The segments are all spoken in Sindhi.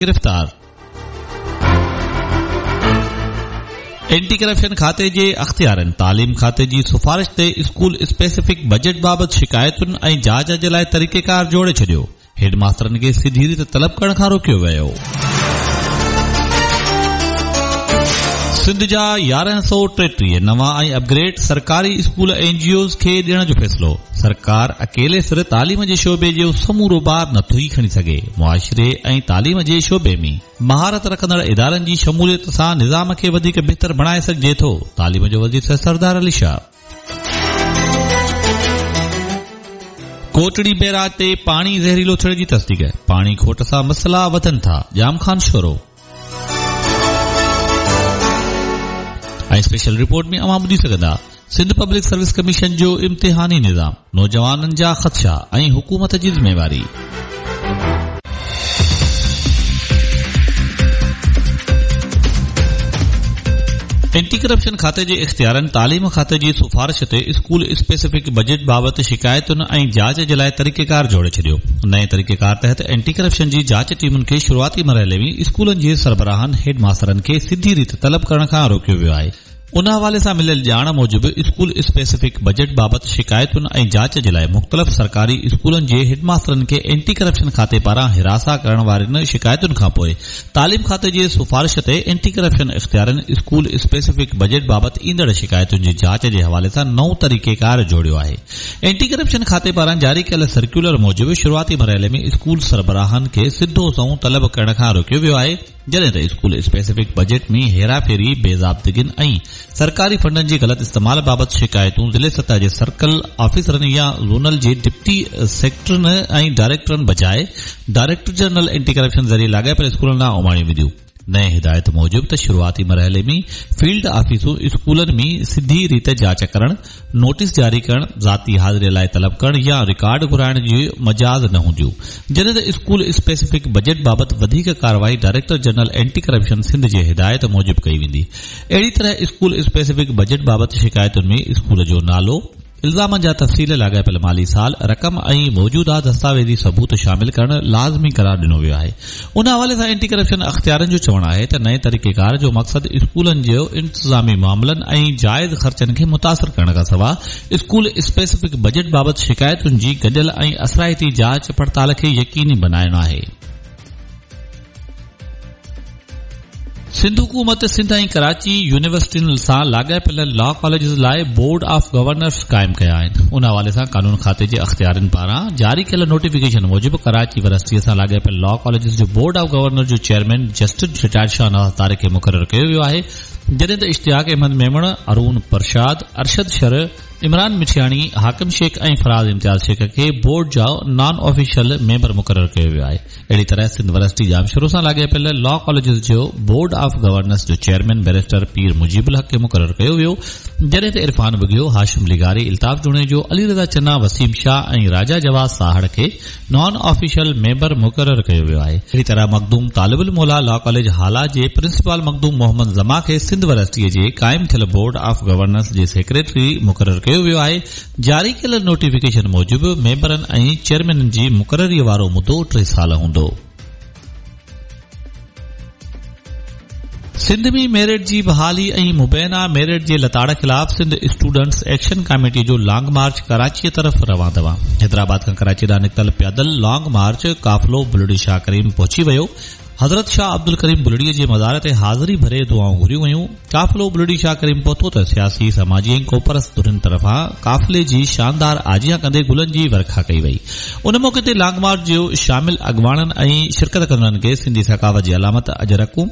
گرفتار. اينٽي ڪرپشن کاتي جي اختيارين تعليم کاتي جي سفارش تي اسڪول اسپيسفڪ بجيٽ بابت شڪايتن ۽ جاچ جي لاء طريقيڪار جوڙي ڇڏيو، هيڊ ماسترن کي سڌي ريت طلب ڪرڻ کان روڪيو ويو. سنڌ جا 1133 نوان ۽ اپگريڊ سرڪاري اسڪول اين جي اوز کي ڏيڻ جو فيصلو، سرڪار اڪيلي سر تعليم جي شعبي جو سمورو بار نٿي کڻي سگهي، معاشري ۽ تعليم جي شعبي ۾ مهارت رکندڙ ادارن جي شموليت سان نظام کي وڌيڪ بهتر بڻائي سگهجي ٿو، تعليم جو وزير سردار علي شاهه. ڪوٽڙي بئراج تي پاڻي زهريلو ٿيڻ جي تصديق، پاڻي کوٽ سان مسئلا وڌن ٿا، ڄام خان شورو. ۽ اسپيشل رپورٽ ۾ اوهان ٻڌي سگهندا سنڌ پبلڪ سروس ڪميشن جو امتحاني نظام، نوجوانن جا خدشا ۽ حڪومت جي ذميواري. اينٽي ڪرپشن کاتي جي اختيارن تعليم کاتي جي سفارش تي اسڪول اسپيسفڪ بجيٽ بابت شڪايتن ۽ جاچ جي لاء طريقيڪار جوڙي ڇڏيو. نئين طريقيڪار تحت اينٽي ڪرپشن جي جاچ ٽيمن کي شروعاتي مرحلي ۾ اسڪولن جي سربراهن، هيڊ ماسترن کي سڌي ريت طلب ڪرڻ کان روڪيو ويو آهي. ان حوالي سان مليل ڄاڻ موجب اسڪول اسپيسفڪ بجيٽ بابت شڪايتن ۽ جاچ جي لاء مختلف سرڪاري اسڪولن جي هيڊ ماسترن کي اينٽي ڪرپشن کاتي پاران هراسان ڪرڻ وارين شڪايتن کانپوء تعليم کاتي جي سفارش تي اينٽي ڪرپشن اختيارين اسڪول اسپيسفڪ بجيٽ بابت ايندڙ شڪايتن جي جاچ جي حوالي سان نئون طريقيڪار جوڙيو آهي. اينٽي ڪرپشن کاتي پاران جاري ڪيل سرڪيولر موجب شروعاتي مرحلي ۾ اسڪول سربراهن کي سڌو سنئون طلب ڪرڻ کان روڪيو ويو آهي جڏهن ته اسڪول اسپيسفڪ بجيٽ ۾ هيراڦيري، بي ضابطگين ۽ سرڪاري فنڊن جي غلط استعمال بابت شڪايتون ضلعي سطح جي سرڪل آفيسرن يا زونل جي ڊپٽي سيڪريٽرين ۽ ڊائريڪٽرن بجاء ڊائريڪٽر جنرل اينٽي ڪرپشن ذريعي لاڳاپيل اسڪولن ڏانهن اماڻيون وينديون. نئين هدايت موجب ته شروعاتي مرحلي ۾ فيلڊ آفيسون اسڪولن ۾ سڌي ريت جاچ ڪرڻ، نوٽيس جاري ڪرڻ، ذاتي حاضري لاء طلب ڪرڻ يا رڪارڊ گهرائڻ جي مجاز نه هونديون، جڏهن ته اسڪول اسپيسفڪ بجيٽ بابت وڌيڪ ڪارروائي director general anti corruption Sindh جي هدايت موجب ڪئي ويندي. اهڙي طرح اسڪول اسپيسفڪ بجيٽ بابت شڪايتن ۾ اسڪول جو نالو، الزامن جا تفصيل، لاڳاپيل مالي سال، رقم ۽ موجوده دستاويزي ثبوت شامل ڪرڻ لازمي قرار ڏنو ويو آهي. ان حوالي سان اينٽي ڪرپشن اختيارين جو چوڻ آهي ته نئين طريقيڪار جو مقصد اسڪولن جي انتظامي معاملن ۽ جائز خرچن کي متاثر ڪرڻ کانسواء اسڪول اسپيسفڪ بجيٽ بابت شڪايتن جي گڏيل ۽ اثرائتي جاچ پڙتال کي يقيني بنائڻ آهي. سنڌ حڪومت سنڌ ۽ ڪراچي يونيورسٽين سان لاڳاپيل لا ڪاليجز لاء بورڊ آف گورنرز قائم ڪيا آهن. ان حوالي سان قانون کاتي جي اختيارين پاران جاري ڪيل نوٽيفڪيشن موجب ڪراچي ورسٽي سان لاڳاپيل لا ڪاليجز جو بورڊ آف گورنر جو chairman justice retired Shahnawaz Tariq کي مقرر ڪيو ويو آهي جڏهن ته اشتياق احمد ميمڻ، ارون پرشاد، ارشد شر، عمران مٺياڻي، حاڪم شيخ ۽ فراز امتياز شيخ کي بورڊ جا نان آفيشل ميمبر مقرر ڪيو ويو آهي. اهڙي طرح سنڌ ورسٽي ڄامشورو سان لاڳاپيل لا ڪاليجز جو بورڊ آف گورنرس جو چيئرمين بئريسٽر پير مجيب الحق کي مقرر ڪيو ويو جڏهن ته عرفان ٻگهيو، هاشم لغاري، الطاف جوڻيجو، علي رضا چنا، وسيم شاهه ۽ راجا جواز ساهڙ کي نان آفيشل ميمبر مقرر ڪيو ويو آهي. اهڙي طرح مخدوم طالب الموليٰ لا ڪاليج هالا جي پرنسپال مخدوم محمد زمان کي سنڌ ورسٽيء جي قائم ٿيل بورڊ آف گورنرس جي سيڪريٽري مقرر ڪيو ويو آهي. جاري ڪيل نوٽيفڪيشن موجب ميمبرن ۽ چيئرمينن جي مقرريء وارو مدو ٽي سال هوندو. سنڌ ۾ ميرٽ جي بحالي ۽ مبينا ميرٽ جي لتاڙ خلاف سنڌ اسٽوڊنٽس ايڪشن ڪاميٽي جو لانگ مارچ ڪراچيء طرف روان دوان. حيدرآباد کان ڪراچيء ڏانهن نڪتل پيادل لانگ مارچ قافلو بلڙي شاهه ڪريم پهچي ويو. حضرت شاهه عبدالڪريم بلڙيء جي مزار تي حاضري ڀري دعائون گهريون ويون. قافلو بلڙي شاهه ڪريم پهتو ته سياسي، سماجي ۽ قومپرست ڌرين طرفان قافلي جي شاندار آجيان ڪندي گلن جي ورکا ڪئي وئي. ان موقعي تي لانگ مارچ جي شامل اڳواڻن ۽ شرڪت ڪندڙن کي سنڌي ثقافت جي علامت اجرڪون،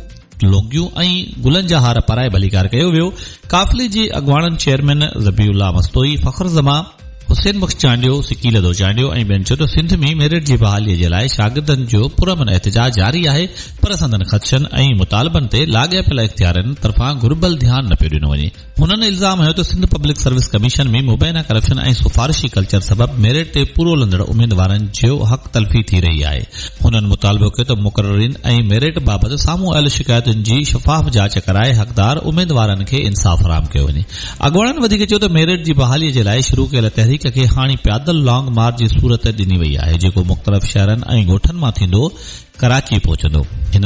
لونگيون ۽ گلن جا هار پارائي ڀليڪار ڪيو ويو. قافلي جي اڳواڻن چيئرمين ذبيح الله مستوئي، فخر زمان، حسين بخش چانڊيو، سڪيلڌو چانڊيو ۽ ٻين چيو ته سنڌ ۾ ميرٽ جي بحالي جي لاء شاگردن جو پرامن احتجاج جاري آهي پر سندن خدشن ۽ مطالبن تي لاڳاپيل اختيارين طرفان گهربل ڌيان نه پيو ڏنو وڃي. هنن الزام هنيو ته سنڌ پبلڪ سروس ڪميشن ۾ مبينا ڪرپشن ۽ سفارشي ڪلچر سبب ميرٽ تي پورو لهندڙ اميدوارن جو حق تلفي ٿي رهي آهي. هنن مطالبو ڪيو ته مقررين ۽ ميرٽ بابت سامهون آيل شڪايتن جي شفاف جاچ ڪرائي حقدار اميدوارن کي انصاف فراهم ڪيو وڃي. اڳواڻن وڌيڪ چيو ته ميرٽ جي بحالي جي لاء شروع ڪيل تحريڪ تحريڪ کي هاڻي پيادل لانگ مارچ جي صورت ڏني وئي آهي، جيڪو مختلف شهرن ۽ ڳوٺن مان ٿيندو ڪراچي پهچندو. هن.